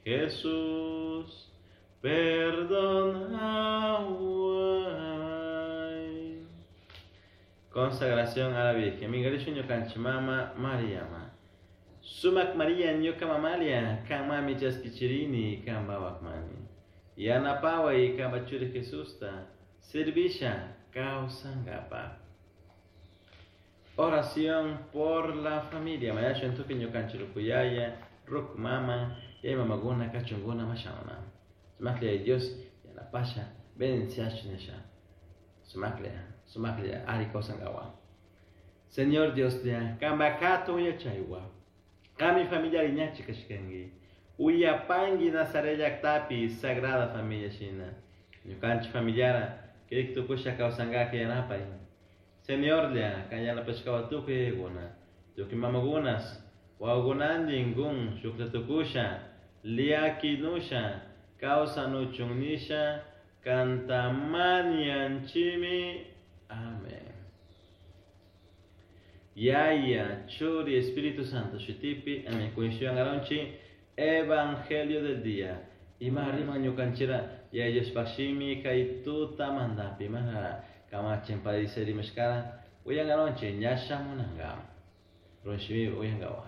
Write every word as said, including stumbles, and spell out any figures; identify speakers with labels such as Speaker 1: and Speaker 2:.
Speaker 1: Jesús, perdonahuai. Consagración a la Virgen. Mingarishu ñukanchik mama Mariama. Sumak Maria ñuka mamalia, kan mami chaskichirini, kan mani. Yanapaway kanpa churi Jesusta, servisha kawsankapa. Oración por la familia. Mañashun tukuy ñukanchik rukuyaya, ruk mama, yaya mamakuna kachunguna mashauna. Sumaklla Dios yanapasha, bendiciashun nisha. Sumaklla, sumaklla ari kawsankawa. Señor Dios lla, kanpak hatun yachaywa. Kami familia ñachi kashkanki. Uyapanki Nazaret llaktapi Sagrada Familia shina. Ñukanchik familiara, kirik tukusha kawsankaka yanapay. Señor lla, kan yanapashkawa tukuy yayakuna. Tukuy mamakunas, wawakunantin kun shuklla tukusha, llakinusha, kawsanuchun nisha, kanta mañanchimi. Amén. Yaya, Churi, Espíritu Santo, shutipi, amén. Kunshuyan Evangelio del día. Ima riman ñukanchira, Yaya Diospaj shimi kay tutamantapi, mana kamachin padise rimashkara, uyangaronchi, ña shamunanga. Runshimi uyangawa.